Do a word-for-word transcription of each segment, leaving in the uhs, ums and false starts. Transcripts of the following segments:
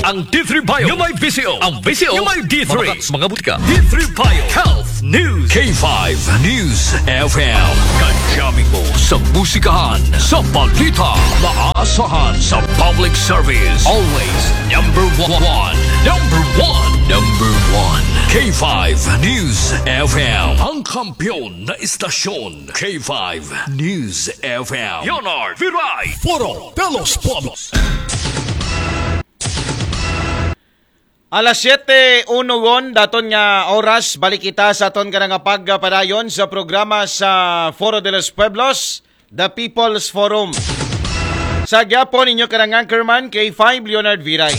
Ang D three Bio nga may V C O. Ang V C O nga may D three. Mabakat sa mga butika. D three Bio Health News. K five News F M. Kajami mo sa musikahan, sa balita, maasahan sa public service. Always number one. Number one. Number one. K five News F M. Ang kampiyon na istasyon. K five News F M. Leonard Viray. Foro de los Pueblos. Alas siyete uno gon, daton nga oras, balik kita sa aton kanang pagpadayon sa programa sa Foro de los Pueblos, The People's Forum. Sa gyapon, inyo kanang anchorman, K five Leonard Viray.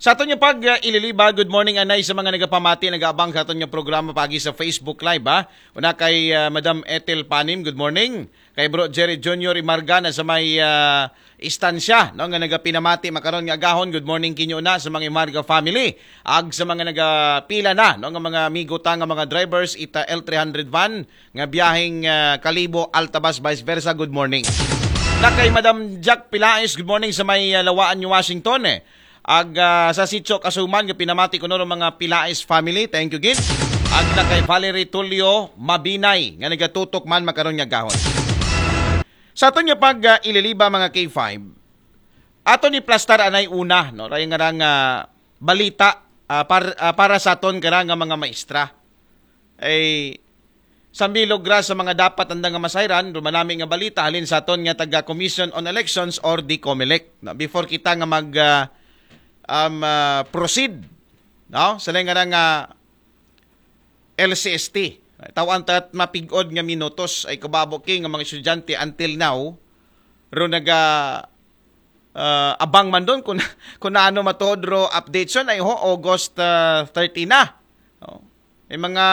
Sa aton nga pag uh, ililiba, good morning anay sa mga nagapamati, nagaabang sa aton nga programa pagi sa Facebook Live, ha. Una kay uh, Madam Ethel Panim, good morning. Kay Bro Jerry Junior Imarga na sa may uh, istansya, no, nga nagapinamati makaron nga agahon, good morning kinyo na sa mga Imarga family. Ag sa mga nagapila na, no, nga mga amigo ta nga mga drivers, ita L three hundred van nga biyaheng uh, Kalibo, Altabas, vice versa, good morning. Na kay Madam Jack Pilaes, good morning sa may uh, Lawaan, New Washington, eh. Ag uh, sa Sitio Kasuman nga pinamati ko no mga Pilaes family, thank you gid. Ag na kay Valerie Tulio Mabinay nga nagatutok man makaron nga gahon. Sa aton nga pag uh, ililiba mga K five, ato ni plastar anay una, no, ray nga rang uh, balita uh, par, uh, para sa aton kara nga mga maestra. Ay sambilog ra sa mga dapat anda nga masayran, rumanami nga balita halin sa aton nga taga Commission on Elections or the COMELEC. No, before kita nga mag uh, um, uh, proceed, no, sa nga nga L C S T. Tawan ta mapigod nga minutos ay kababo ki nga mga estudyante until now ro naga uh, abang man doon kung, kung ano matuod ro update son ay ho August uh, thirty na. Oh. May mga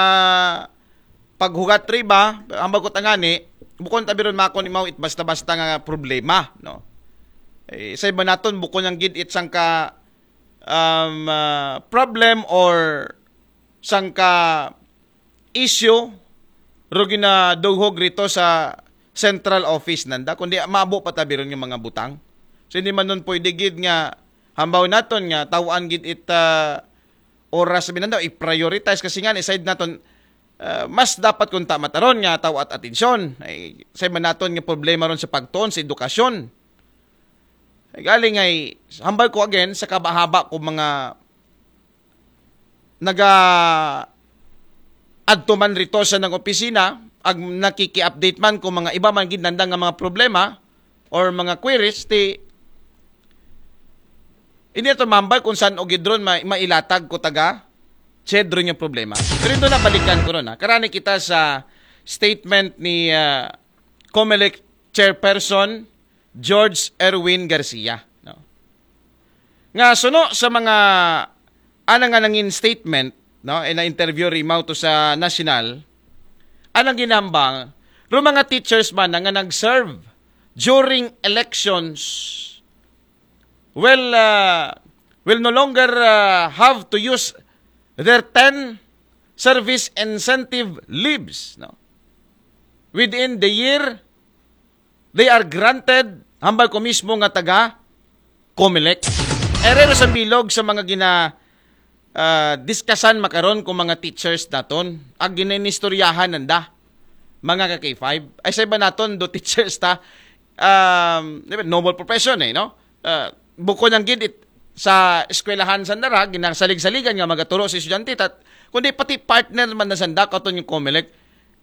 paghugat riba, ang bagot angani, bukon tabi ron makon imaw it basta-basta nga problema, no. Eh, sa iba naton bukon ang gid it sangka um, uh, problem or sangka issue ro ginaduhog rito sa central office nanda, kundi maabo pa tabi ron nga mga butang. So hindi man nun pwede gid nga hambaw naton nga tawaan gid it uh, oras sa binanda i-prioritize kasi nga ni side naton uh, mas dapat kung tama taron nga tawat atensyon ay sa man naton nga problema ron sa pagtuon sa edukasyon. Ay galing ay hambal ko again sa kabahaba ko mga naga adto man rito sa nang opisina ag nakiki-update man ko mga iba man gid nanda nga mga problema or mga queries ti hindi ato mambal kung saan o gidron ma- mailatag ko taga chedro yung problema. Pero ito na balikan ko ron ha. Karani kita sa statement ni uh, COMELEC Chairperson George Erwin Garcia. No? Nga suno sa mga anang nga nangin statement, no, in a interview rimaw to sa National, anang ginambang, ro mga teachers man nga nag-serve during elections will uh, will no longer uh, have to use their ten service incentive leaves, no, within the year they are granted, hambal ko mismo nga taga COMELEC. Erero sa bilog sa mga gina uh, diskasan makaron ko mga teachers naton ag ginanistoryahan nanda mga ka K five ay sa iba naton do teachers ta um, noble profession eh no uh, bukod ang gid it, sa eskwelahan sa nara ginasalig-saligan nga magaturo sa estudyante tat kundi pati partner man na sanda katon yung COMELEC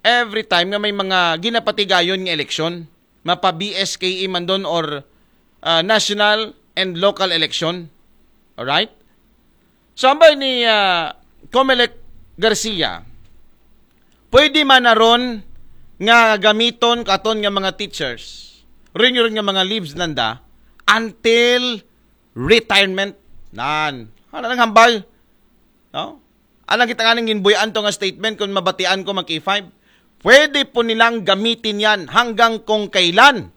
every time nga may mga ginapatigayon nga eleksyon mapa B S K E man doon or uh, national and local election. Alright? So, ambay ni uh, Comelec Garcia, pwede man na ron nga gamiton katon nga mga teachers, rin rin nga mga leaves nanda, until retirement. Nan. Ano nang hambal? No? Alang kita nga nang ginbuyan to nga statement kung mabatian ko mag K five. Pwede po nilang gamitin yan hanggang kung kailan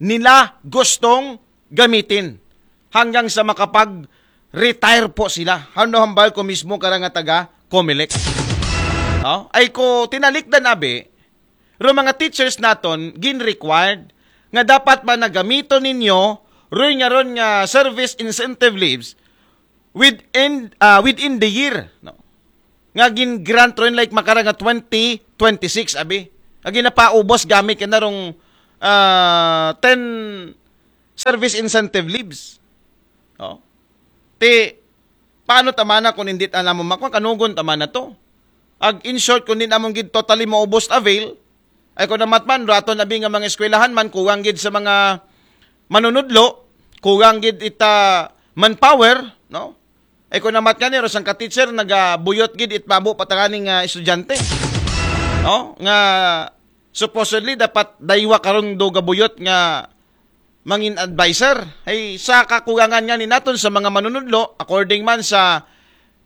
nila gustong gamitin hanggang sa makapag-retire po sila. Hando hambal ko mismo karang nga taga Comelec. No? Ay ko tinalikdan abi, ro mga teachers naton gin-required nga dapat ba nagamiton ninyo roy nga ron nga service incentive leaves within uh, within the year, no, nga gin-grant ron, like, makara nga twenty twenty-six, abi, nga ginapaubos gamit kanarong uh, ten service incentive leaves. Oh. Ti, paano ta man na kung hindi ta namo makuha? Kanugon ta man na to. Ag, in short, kung di namon gid totally maubos avail, ay, kung namatman, raton abi nga mga eskwelahan man, kuwang gid sa mga manunudlo, kuwang gid ita manpower, no? Ay, kung namat nga ni, rosang ka teacher, nagabuyot gid it babo patangani nga estudyante. No? Nga supposedly dapat daywa karon do gabuyot nga mangin advisor. Ay, sa kakugangan nga ni naton sa mga manunudlo, according man sa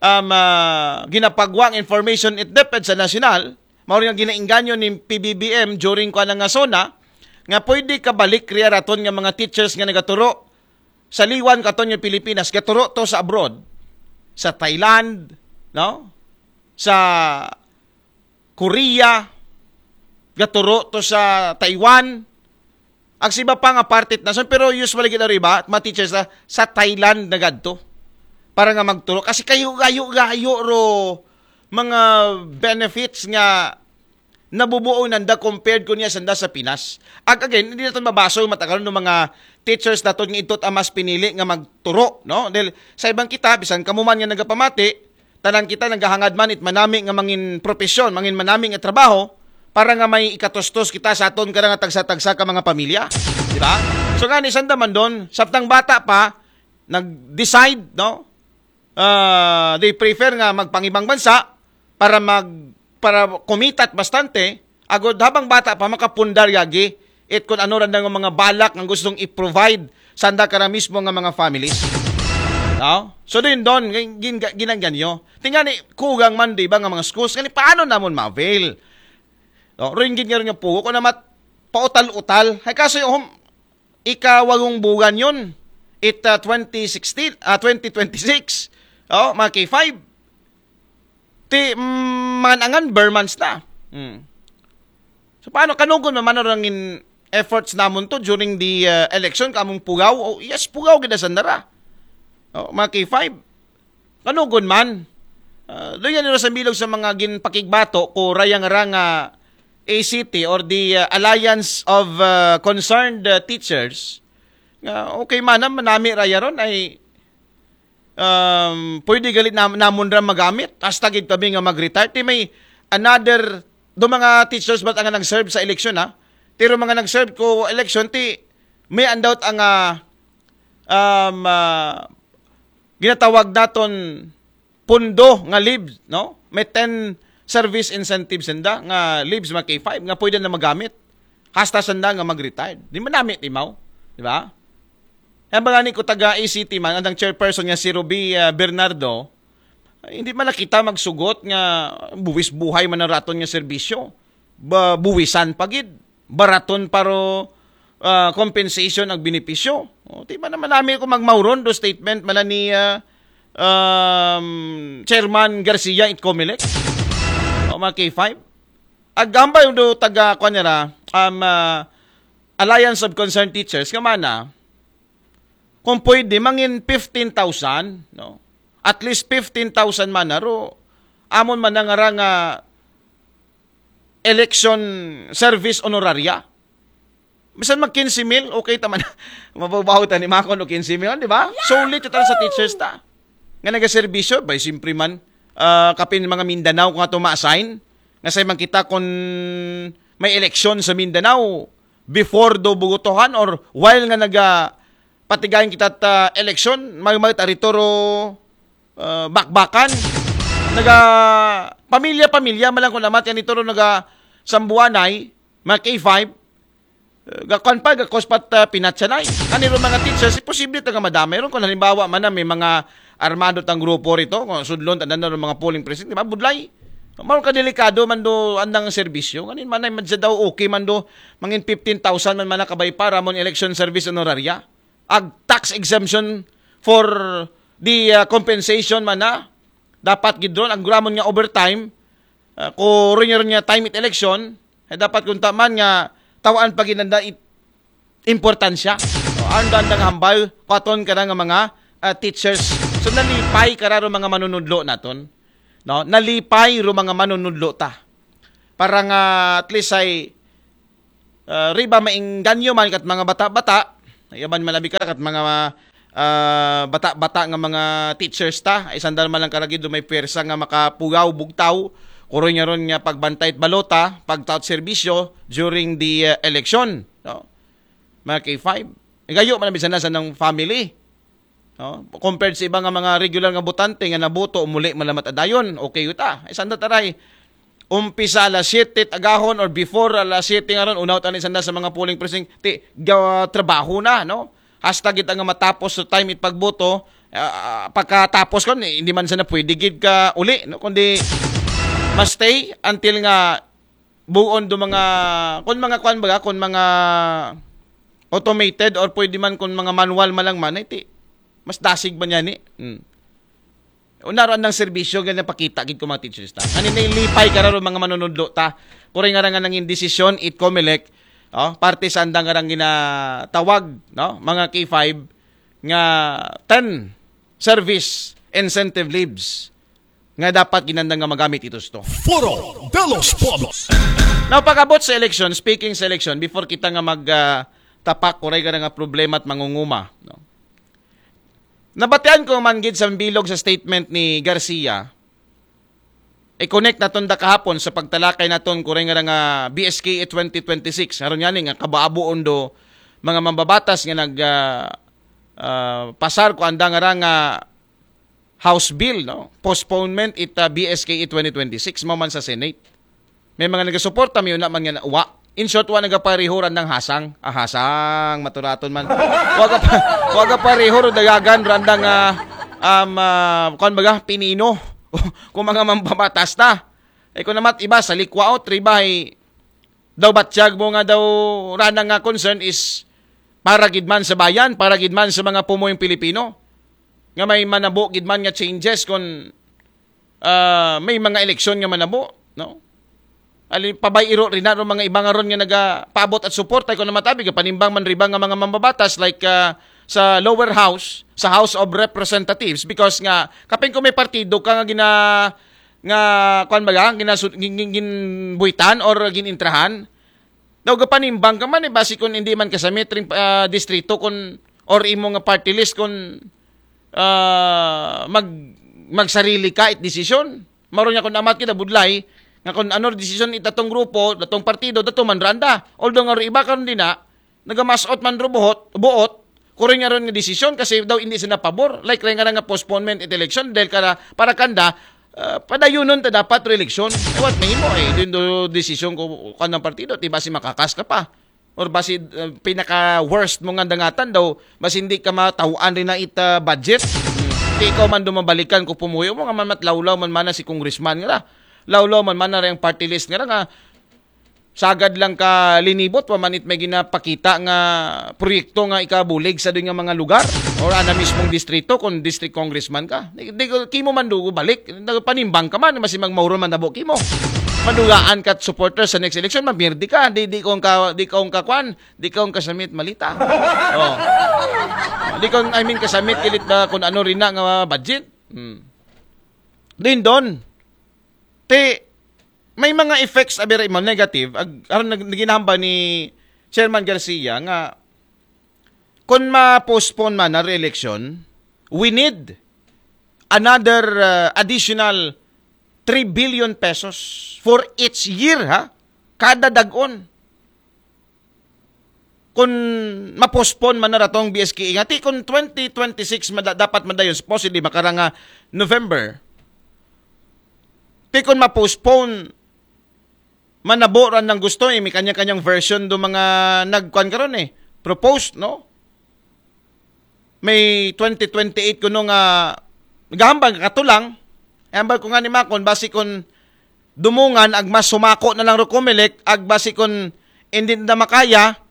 um, uh, ginapagwang information it DepEd sa nasyonal, mao nga ginaingganyo ni P B B M during ko nga zona, nga pwede kabalik riya raton nga mga teachers nga nagaturo sa liwan katon nga Pilipinas, gaturo to sa abroad, sa Thailand, no? Sa Korea, gaturo to sa Taiwan, ag sa iba pa nga parte nason, pero usually gid ari ba, mga teachers na sa Thailand nagadto para nga magturo. Kasi kayo, gayo, gayo ro mga benefits nga nabubuo nanda compared ko niya sanda sa Pinas. Ag again, hindi natin mabaso yung matakaron ng mga teachers naton nga ito ang mas pinili nga magturo, no? Dahil sa ibang kita, bisan kamo man nga nagapamati, tanan kita naghahangad man it manami nga mangin profesyon, mangin manami nga trabaho, para nga may ikatustos kita sa aton kada nga tagsa-tagsa ka mga pamilya. Di ba? So nga ni sanda man doon, sabtang bata pa, nag-decide, no? Ah, they prefer nga magpangibang bansa para mag para kumitat bastante, agod habang bata pa makapundar yagi it kun ano ra nga mga balak nga gustong i-provide sanda kara mismo nga mga families. No? So din doon, gin, gin, ginangganyo. Tingani, kugang man di ba nga mga schools, ngani paano namon ma-avail? No? Ringgit nga rin nga pugo, kung namat, pautal-utal. Ay kaso yung hum, ikawagong buwan yun. It uh, twenty sixteen, uh, twenty twenty-six. Oh, mga K five. Ti, mm, manangan, Bermans na. Hmm. So, paano kanugon man man in efforts namon to during the uh, election, kamong pugaw? Oh, yes, pugaw gid sa nara. Oh, mga K five. Kanugon man. Uh, doon yan sa bilog sa mga ginpakigbato ko rayang ranga A C T or the uh, Alliance of uh, Concerned uh, Teachers. Nga, okay man, manami raya ron ay um, pwede galit na, namon ra magamit. Hasta gid tabi nga mag-retire. Ti may another, do mga teachers ba nga nag-serve sa election, ha? Pero mga nag-serve ko election, ti may andawt ang uh, um, uh, ginatawag naton pundo nga leaves, no? May ten service incentives sanda nga leaves mga K five nga pwede na magamit. Hasta sanda nga mag-retired. Di manami timaw, di ba? Ang mga ni ko taga A C T man, ang chairperson nga si Ruby uh, Bernardo, ay, hindi man kita magsugot nga buwis buhay man ang raton nga serbisyo. Ba, buwisan pagid. Baraton paro uh, compensation ang benepisyo. O, di ba naman namin kung magmauron do statement man ni uh, um, Chairman Garcia it Comelec. O, mga K five. Agambay do taga, kwan nila, um, uh, Alliance of Concerned Teachers, nga mana, kung pwede, mangin fifteen thousand, no? At least fifteen thousand man na, ro, amon man nga nga election service honoraria. Bisan mag quince mil, okay ta man. Mababaw ta ni Makon o quince mil, di ba? Sulit ito sa teachers ta. Nga nagaserbisyo, bay, simpre man, uh, kapin mga Mindanao kung ato ma-assign. Nga sa man kita kung may election sa Mindanao, before do bugotohan or while nga naga patigayon kita ta election, may may taritoro uh, bakbakan. Naga pamilya-pamilya malang ko namat yan ito naga sambuanay, mga K five, uh, gakuan pa, gakos pa uh, pinatsanay. Kaniro mga teachers, posible taga madamay. Ron kung halimbawa man na may mga armado tang grupo rito, kung sudlon, tanda na mga polling precinct, di ba? Budlay. Mao ka delikado man do andang serbisyo. Kanin man ay madya daw okay man do mangin fifteen thousand man man nakabay para mon election service honoraria. Ag tax exemption for the uh, compensation man na dapat gidron ang gramon nga overtime uh, ko rin niya time it election ay dapat kunta man nga tawaan pa ginanda it importansya. So, ang dandang hambal, paton ka na nga mga uh, teachers So nalipay ka ra ro mga manunudlo naton. No? Nalipay ro mga manunudlo ta. Para nga at least ay uh, riba maingganyo man kat mga bata-bata, yaban malabi ka kat mga uh, bata-bata nga mga teachers ta, ay sandal man lang karagid do may pwersa nga makapugaw bugtaw, kuroy nga ron nga pagbantay at balota, pagtaot serbisyo during the uh, election. No? Mga K five. Gayo man ang bisan na sa ng family. No? Compared sa iba nga mga regular nga botante nga naboto, muli malamat adayon, okay yuta. Ay sanda taray, umpisa alas siyete agahon or before alas siyete nga ron, unaw tani sanda sa mga polling precinct, ti ga trabaho na, no? Hasta gid nga matapos sa time it pagboto, ah, pagkatapos kon, eh, hindi man sana pwede gid ka uli, no? Kundi mas stay until nga buon do mga, kon mga kwan baga, kon mga automated or pwede man kon mga manual man lang man, iti mas dasig man yan eh. Hmm. Unaroan ng serbisyo, ganyan pakita gid ko mga teachers ta. Ani na ilipay ka ron mga manunudlo ta. Kuray nga nga nangin desisyon, it Comelec, oh, parte sa andang nga ginatawag, no, mga K five nga ten service incentive leaves nga dapat ginanda nga magamit ito sto. Foro de los Pueblos. Now, pag-abot sa election, speaking sa election, before kita nga mag ah, tapak, kuray ka nga problema at mangunguma, no? Nabatian ko man gid sa bilog sa statement ni Garcia, i-connect naton da kahapon sa pagtalakay naton kuray nga nga B S K E twenty twenty-six. Aron yan nga kabaabo undo mga mambabatas nga nag ah, ah, pasar ko anda nga ra nga House bill, no? Postponement it uh, B S K E twenty twenty-six, mo man sa Senate. May mga nagasuporta, may una man nga wa. In short, wa nagapareho randang hasang. Ah, hasang, maturaton man. Waga pa, waga pareho ro dagagan randang uh, um, uh, kuan baga, pinino. Kung mga mambabatas ta. Eh, kung namat iba sa likwaot, ribay, daw batyag mo nga daw rana nga concern is para gid man sa bayan, para gid man sa mga pumuyong Pilipino. Nga may manabo gid man nga changes kung ah, may mga eleksyon nga manabo, no? Ali pabay iro rin na mga iba nga ron nga nagapaabot at support ay kung namatabi ka panimbang man riba nga mga mambabatas like ah, sa lower house, sa House of Representatives because nga kapin ko may partido ka nga gina nga kuan ba ginasu- gin, gin, ginbuitan or ginintrahan, daw gapanimbang ka man eh, basi kung hindi man kasamit ring ah, distrito kung or imo nga party list kung ah, mag magsarili ka it desisyon. Maro niya kung amat kita budlay nga kung ano desisyon itatong grupo, datong partido, dato man randa. Although nga ro iba karon din na nagamasot man ro buhot, buot, kuring nga ron nga desisyon kasi daw hindi sila pabor. Like rin nga nga postponement it election dahil kara, para kanda, ah, padayunon ta dapat re-election. Eh, what mahimo eh, din do desisyon ko kanang partido, ti basi makakas ka pa. Or basi uh, pinaka worst mo nga dangatan daw, basi hindi ka matawaan rin na it uh, budget. Ti ikaw man dumabalikan ko pumuyo mo nga man matlawlaw man mana si congressman nga. Lawlaw man mana rin ang party list nga nga sagad lang ka linibot pa man it may ginapakita nga proyekto nga ikabulig sa doon nga mga lugar or ana mismong distrito kung district congressman ka. Di, di ko- kimo man dugo balik, panimbang ka man, masi magmauro man nabo kimo. Madugaan ka supporter sa next election, mabirdi ka, di di kong ka di kong kakwan, di kong kasamit malita. Oh. Di kong I mean kasamit kilit ba kung ano rin na nga budget. Hmm. Din doon. Ti may mga effects abira mo negative ag aron nag- naginahamba ni Chairman Garcia nga kung ma-postpone man na re-election, we need another uh, additional three billion pesos for each year ha, kada dagon. Kung ma-postpone man na ratong B S K E nga ti kung twenty twenty-six mada, dapat madayon supposedly makaranga November. Ti kung ma-postpone manabo ran ng gusto eh, may kanya-kanyang version do mga nagkuan karon eh, proposed, no? May twenty twenty-eight kuno nga gahambal nga katulang. Ambal ko nga ni Makon basi kun dumungan ag mas sumako na lang ro Comelec ag basi kun hindi na makaya.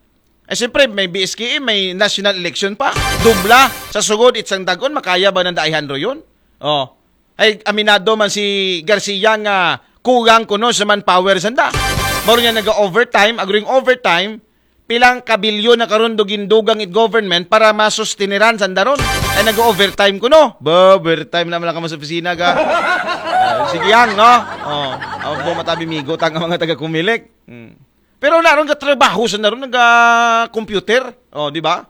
Eh siyempre may B S K E, may national election pa. Dubla sa sugod itsang dagon makaya ba nang daihan ro yun? Oh. Ay aminado man si Garcia nga kulang kuno sa manpower sanda. Mao niya naga-overtime, agring overtime, pilang kabilyon na karon do gindugang it government para masustineran sanda ron. Ay, nag-overtime ko, no? Ba, overtime naman lang kamo sa opisina, ga. Ah, sige, yang, no? Oh, ako po matabi migo, tanga mga taga-Comelec. Hmm. Pero naroon ka trabaho sa naroon, naga-computer. Oh, di ba?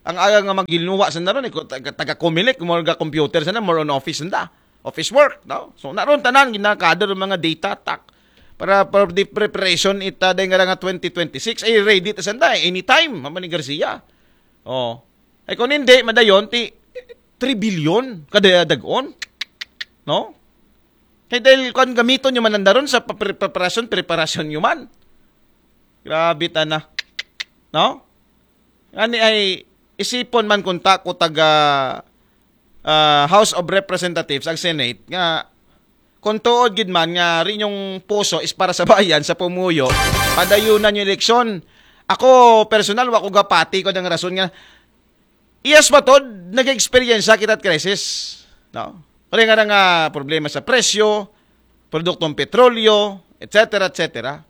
Ang aga nga maginuwa sa naroon, eh, taga, taga-Comelec, more ga-computer sa na, more on office na. Office work, no? So, naroon tanan, ginakadar ang mga data, tak. Para, para di preparation ita, dahil nga nga twenty twenty-six, ay ready ta sanda, eh, anytime, Mama ni Garcia. Oh. Ay kung hindi, madayon, ti three billion, kada dagon. No? Kaya dahil kung gamiton nyo man ang daron sa papre- preparasyon, preparasyon nyo man. Grabe ta na. No? Ani ay isipon man kung ta ko taga ah, House of Representatives, ang Senate, nga kung tuod gid man nga rin yung puso is para sa bayan, sa pumuyo, padayunan yung eleksyon. Ako, personal, wa ko gapati ko ng rason nga, yes, matod, nag-experience kita at crisis. No? Kaya nga nga problema sa presyo, produktong petrolyo, et cetera, et cetera.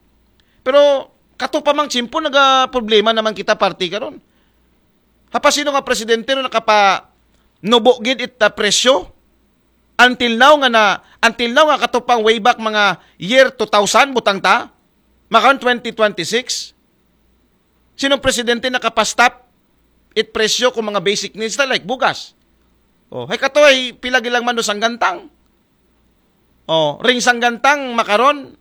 Pero, kato pa mang tsimpo, naga problema naman kita party karon. Hapa sino nga presidente no nakapa nubo gid it ah, presyo? Until now nga na, until now nga katupang way back mga year two thousand, butang ta, makan twenty twenty-six. Sinong presidente nakapa-stop it presyo kung mga basic needs na like bugas? Oh, hay kato ay pila gilang man do sanggantang. Oh, ring sanggantang makaron,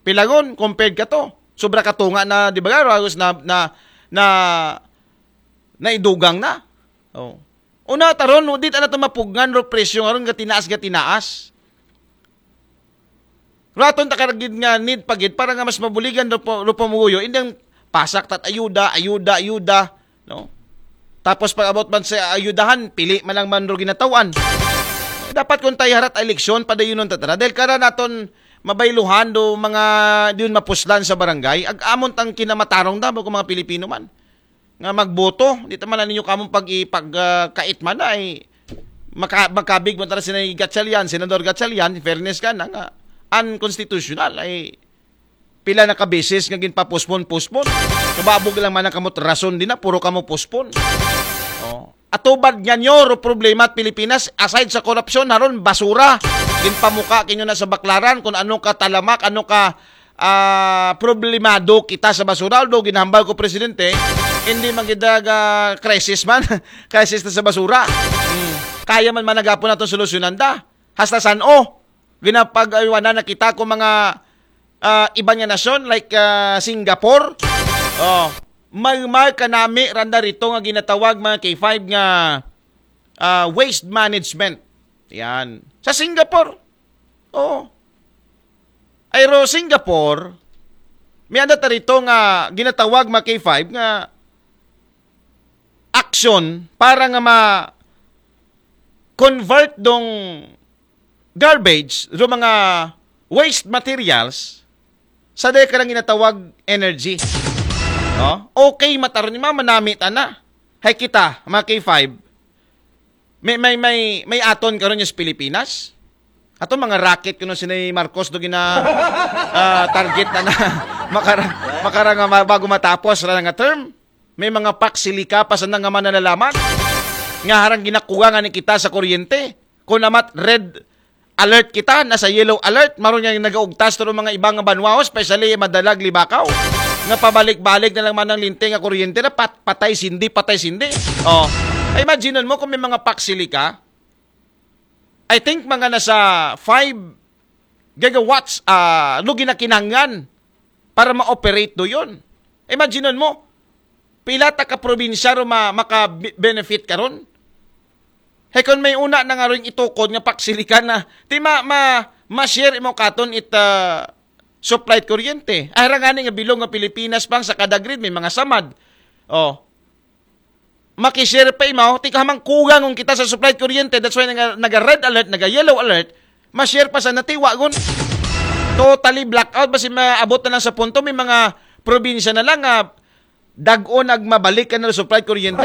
pilagon, compared ka to. Sobra katunga na, di ba, Ragos, na, na, na, naidugang na. Oh. Una, taron, no, di ta na to mapugngan ro presyo nga ron, gatinaas, gatinaas. Raton ta karagid nga need pa gid para nga mas mabuligan ro, po- ro pamuyo, indang pasak tat ayuda, ayuda, ayuda, no? Tapos pag abot man sa ayudahan, pili man lang man ro ginatawan. Dapat kung tayo harat eleksyon, padayunon ta tara. Dahil kara naton mabayluhan do mga diyon mapuslan sa barangay, ag-amon tang kinamatarong da, kung mga Pilipino man. Nga magboto, di ta man ninyo kamong pag ipag ah, kait man ay maka, makabig man tara si Gatchalian, Senador Gatchalian, in fairness ka na nga, unconstitutional ay pila na ka beses nga ginpapospon-pospon. Kababog lang man ang kamot rason din na, puro kamo pospon. Oh. Atubad nga nyo, ro problema at Pilipinas, aside sa korupsyon, haron basura. Ginpamuka kinyo na sa baklaran kung ano ka talamak, ano ka ah, problemado kita sa basura. Although ginahambal ko, Presidente, hindi man gid ah, crisis man. Crisis na sa basura. Hmm. Kaya man managapon natin solusyonan da. Hasta san o, ginapag-aywanan na kita ko mga ah, iba nga nasyon like ah, Singapore. Oh, may may kanami randa rito nga ginatawag mga K five nga ah, waste management. Yan. Sa Singapore. Oh. Ay ro Singapore, may anda tarito nga ginatawag mga K five nga action para nga ma convert dong garbage, do mga waste materials, sa dahil ka lang ginatawag energy. No? Okay, mataron ni mama, namit ana. Hay kita, mga K five, may, may, may, may aton karon yung sa Pilipinas. Ato mga racket kuno si Marcos do gina ah, target na na makara, makara nga ma- bago matapos ra nga term. May mga paksilika pa sa nga mananalaman. Nga harang ginakuha nga ni kita sa kuryente. Kung namat red alert kita, nasa yellow alert, maron nga nagaugtas to mga ibang banwa, especially madalag libakaw. Nga pabalik-balik na lang man ang linting nga kuryente na pat, patay sindi, patay sindi. Oh. Imagine mo kung may mga paksilika, I think mga nasa five gigawatts ah lugi na kinahanglan para ma-operate do yun. Imagine mo, pila ta ka probinsya ro ma maka-benefit karon. Hey, kung may una na nga rin itukod nga paksilikan na, ti ma, ma, ma-share imo katon it ah, supply kuryente. Ay, ra nga ni nga bilog nga Pilipinas pang sa kada grid, may mga samad. Oh, makishare pa imaw, ti kahamang kugang kung kita sa supply kuryente, that's why naga, naga red alert, naga yellow alert, ma-share pa sa natiwa gun. Totally blackout, basi maabot na lang sa punto, may mga probinsya na lang nga dagon ag mabalik ka na supply kuryente.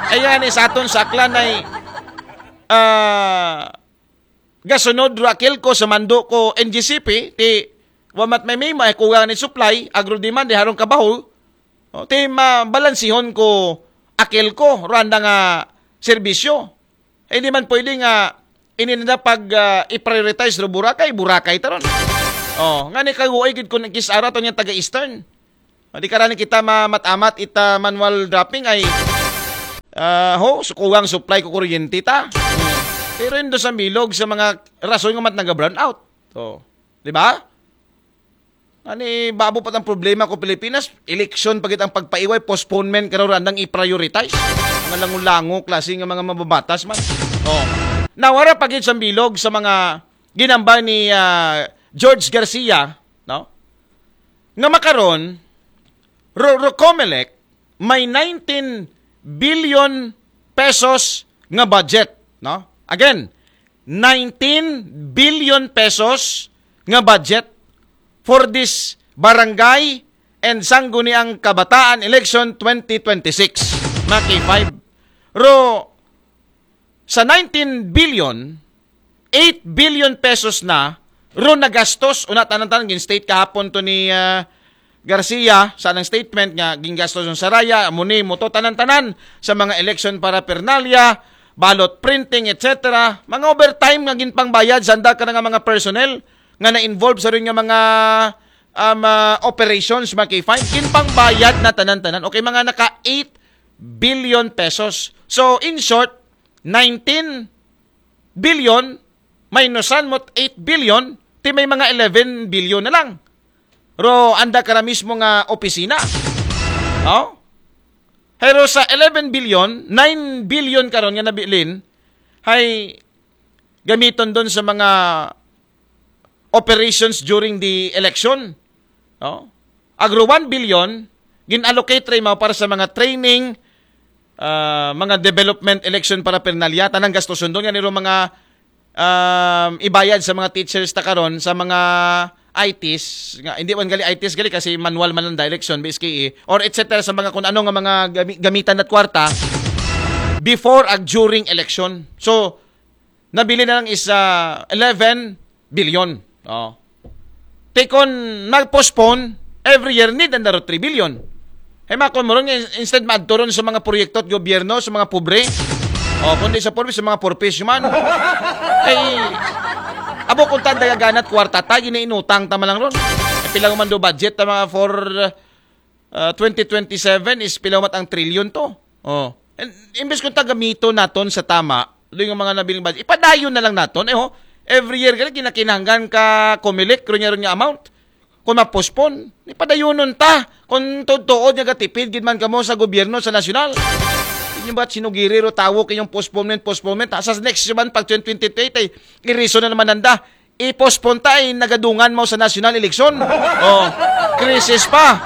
Ayan, eh, sa aton sa Aklan ay ah, gasunod Raquel ko sa mando ko N G C P, ti wamat may may may kugang ni supply, agro demand, di harong kabaho, o, ti mabalansihon ko Akel ko, Rwanda nga serbisyo. Hindi man pwede nga ini na pag ah, i-prioritize ro Boracay, Boracay taron. Oh, nga ni kaguay gid kun kis-a ra to niyang taga Eastern. O di karani kita mamat-amat ita manual dropping ay ah, ho, sukuwang supply ko kuryente ta. Pero indo sa bilog sa mga rason nga mat naga-brownout. Oh, di ba? Ani, babo pa ang problema ko Pilipinas, eleksyon pa gid ang pagpaiway, postponement ka raw randang i-prioritize. Mga lango-lango, klase nga mga mababatas man. Oh. Nawara pa gid sa bilog sa mga ginambal ni ah, George Garcia, no? Nga makaron, ro, ro Comelec, may nineteen billion pesos nga budget, no? Again, nineteen billion pesos nga budget for this barangay and Sangguniang Kabataan Election twenty twenty-six, mga K five. Ro, sa nineteen billion, eight billion pesos na ro nagastos, una tanan-tanan gin-state kahapon to ni ah, Garcia sa anang statement nga gingastos ng Saraya, muni mo to tanan-tanan sa mga election paraphernalia, ballot printing, et cetera. Mga overtime nga ginpangbayad sa anda ka nga mga personnel nga na-involve sa rin nga mga um, ah, operations, mga K five. Ginpangbayad na tanan-tanan. Okay, mga naka eight billion pesos. So, in short, nineteen billion, minusan mo eight billion, ti may mga eleven billion na lang. Ro, anda ka na mismo nga opisina. Oh? Pero sa eleven billion, nine billion karon nga nabilin, hay gamiton doon sa mga operations during the election. No? Agro one billion, gin-allocate ray mao para sa mga training, ah, mga development election paraphernalia, tanang gastuson doon. Nga niro mga um, ibayad sa mga teachers ta karon sa mga I Ts, nga, hindi man gali I Ts gali kasi manual man ang election, B S K E, or et cetera sa mga kung ano nga mga gami- gamitan at kwarta before ag during election. So, nabili na lang is ah, eleven billion. Oh. Te kon mag-postpone, every year need ang daro three billion. Hay makon mo ron, instead maadto ron sa mga proyekto at gobyerno, sa mga pobre. O, kundi sa pobre, sa mga poor fish man. Ay, abo kung tanda gaganat kwarta ta, ginainutang ta man lang ron. Ay, pila man do budget ta mga for uh, twenty twenty-seven is pila mat ang trilyon to. Oh. And, imbes kung tagamito naton sa tama, doon yung mga nabiling budget, ipadayon na lang naton. Eh, ho, every year, gali, kinakinahanglan ka Comelec, ro niya, ro niya amount. Kung ma-postpone, ipadayonon ta. Kung tuod-tuod niya gatipid, gid man kamo sa gobyerno, sa nasyonal. Inyo ba't sinugiri ro tawo kayong postponement, postponement? Ha? Sa next naman, pag twenty twenty-eight, ay, iriso na naman nanda. I-postpone ta, ay nagadungan mo sa national election. Oh, krisis pa.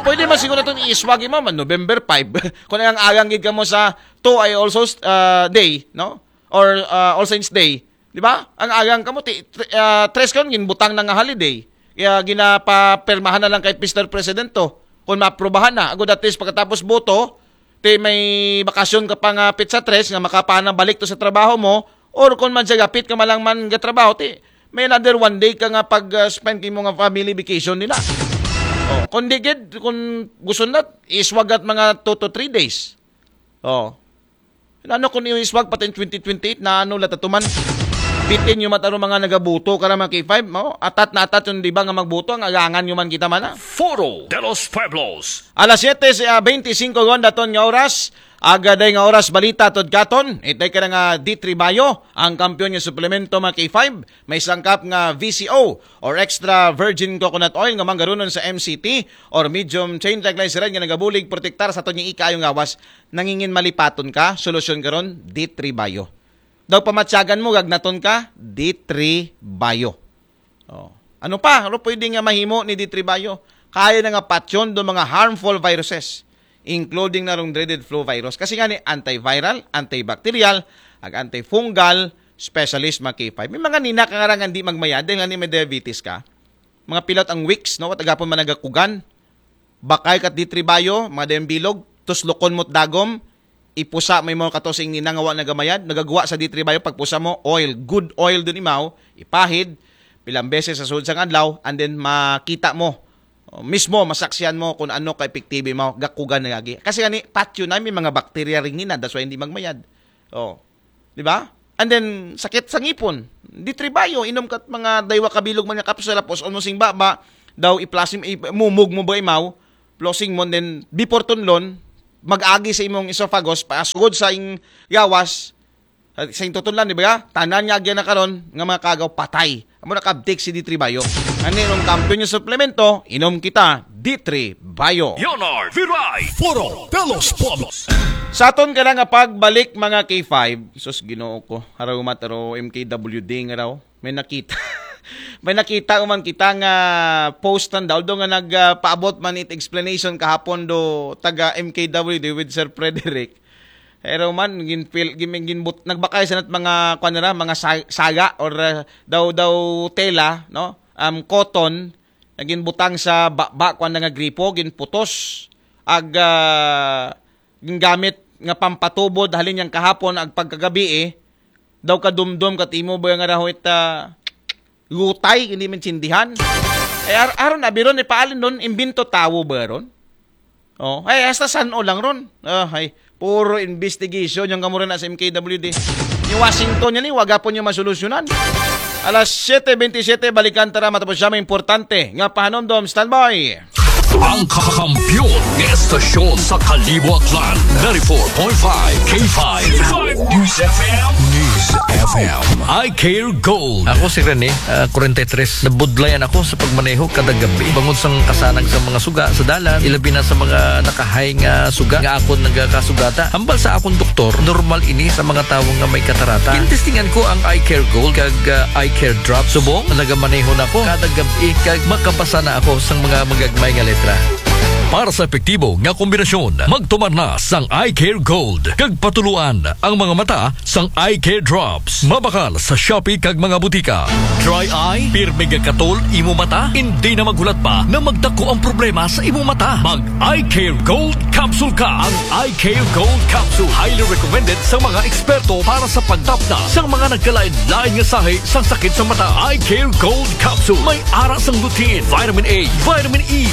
Pwede man siguro itong iiswagi mo, man, November five. Kung ang agang gid ka mo sa two ay also uh, day, no? Or uh, All Saints Day. Di ba? Ang agang ka mo, ti, tre- uh, tres ka yun, butang na nga holiday. Kaya ginapapirmahan na lang kay Mister President to. Kung maaprubahan na. Agud at least pagkatapos boto, ti may bakasyon ka pa nga pizza tres nga makapanang balik to sa trabaho mo, or kung man siya gapit ka malang man ga trabaho, ti may another one day ka nga pag-spend kay mo nga family vacation nila. Oh, kung di gid, kung gusto na, iswagat mga two to three days. Oh. Ano kung yung iswag pati twenty twenty-eight na ano lata tuman? Bitin yung mataro mga nagabuto ka mga K five, mo? Atat na atat yung di ba nga magbuto, ang agangan yung man kita man ah. Foro de los Pueblos. Alas siyete, ah, bente singko gon daton nga oras. Agaday nga oras balita tod katon. Itay ka na nga D three Bio, ang kampiyon nga suplemento mga K five. May sangkap nga V C O or extra virgin coconut oil nga manggarunon sa M C T or medium chain triglyceride nga nagabulig protektar sa aton nga ikaayo nga gawas. Nangingin malipaton ka, solusyon karon D three Bio. Daw pamatyagan mo gagnaton ka, D three Bio. Oh. Ano pa? Ano pwede nga mahimo ni D three Bio? Kaya na nga patyon do mga harmful viruses, including na rong dreaded flu virus. Kasi nga ni antiviral, antibacterial, ag antifungal, specialist mga K five. May mga nina ka nga rangan di magmayad dahil nga ni may diabetes ka. Mga pilot ang wicks, no? At agapon managakugan. Bakay kat D three Bio, mga dayang bilog, tuslukon mo't dagom, ipusa mo imo kato sa ingninang nga wa nagamayad, nagagwa sa D three Bio, pagpusa mo, oil, good oil dun imaw, ipahid, pilang beses sa sud sa adlaw, and then makita mo, oh, mismo, masaksihan mo kung ano ka epektibo imaw, gakugan na gagi. Kasi gani, patyo na may mga bakterya ring nina, that's why hindi magmayad. Oh. Di ba? And then, sakit sa ngipon. D three Bio, inom kat mga daywa kabilog man nga kapsula, pus-on mo sing baba, daw i-flush, i-, mumog mo ba imaw, flushing mo, and then, before tunlon, mag-agi sa imong esophagus, pasugod sa ing gawas, sa ing tutunlan, di ba? Tanan nga agyan na karon, nga mga kagaw, patay. Amo nakabtik si D three Bio. Ano yung kampiyon yung suplemento? Inom kita, D three Bio. Leonard Viray, Foro de los Pueblos. Sa aton ka na nga pagbalik, mga K five, sus, Ginoo ko, haraw mataro M K W D nga raw. May nakita. May nakita man kita nga post ng daw nga nagpaabot man it explanation kahapon do taga M K W D with Sir Frederick. Pero man, ginpil, gin, ginbut, nagbakay sa nat mga, kuwan nila, mga sa-, saga or uh, daw, daw tela, no? Um, cotton, na ginbutang sa baba, kuwan na nga gripo, ginputos. Ag, uh, gingamit nga pampatubod, halin niyang kahapon, ag pagkagabi eh, daw kadumdum, katimo ba nga raho it, uh, gutay, hindi man sindihan. Eh, ar-, aron, abiron, ipaalin doon, imbinto tawo ba ron? Oh, ay, hasta san-o lang ron. Ah, ay, puro investigation yung kamura na sa M K W D. Yung Washington yan eh, waga po niyo masolusyonan. Alas siete veintisiete, balikan tara matapos siya may importante. Nga pahanomdom, standby. Ang kakampiyon ng estasyon sa Kalibo Aklan, ninety-four point five K five News F M. News F M. I Care Gold. Ako si Rene, ah, forty-three. Nabudlayan ako sa pagmaneho kada gabi. Bangod sang kasanag sa mga suga sa dalan, ilabi na sa mga nakahay nga suga nga akon nagakasugata. Hambal sa akong doktor, normal ini sa mga tawo nga may katarata. Gintestingan ko ang Eye Care Gold kag, ah, Eye Care Drop. Subong, nagamaneho na ko kada gabi kag makabasa na ako sang mga magagmay nga letra. Para sa epektibo nga kombinasyon, magtumar na sang Eye Care Gold kag patuluan ang mga mata sang Eye Care Drops. Mabakal sa Shopee kag mga butika. Dry eye, pirmi nga katol imo mata, hindi na maghulat pa na magdako ang problema sa imo mata. Mag Eye Care Gold Capsule ka. Ang Eye Care Gold Capsule highly recommended sa mga eksperto para sa pagtapna sa mga nagkalain-lain nga sahi sa sakit sa mata. Eye Care Gold Capsule may ara sang lutein, vitamin A, vitamin E,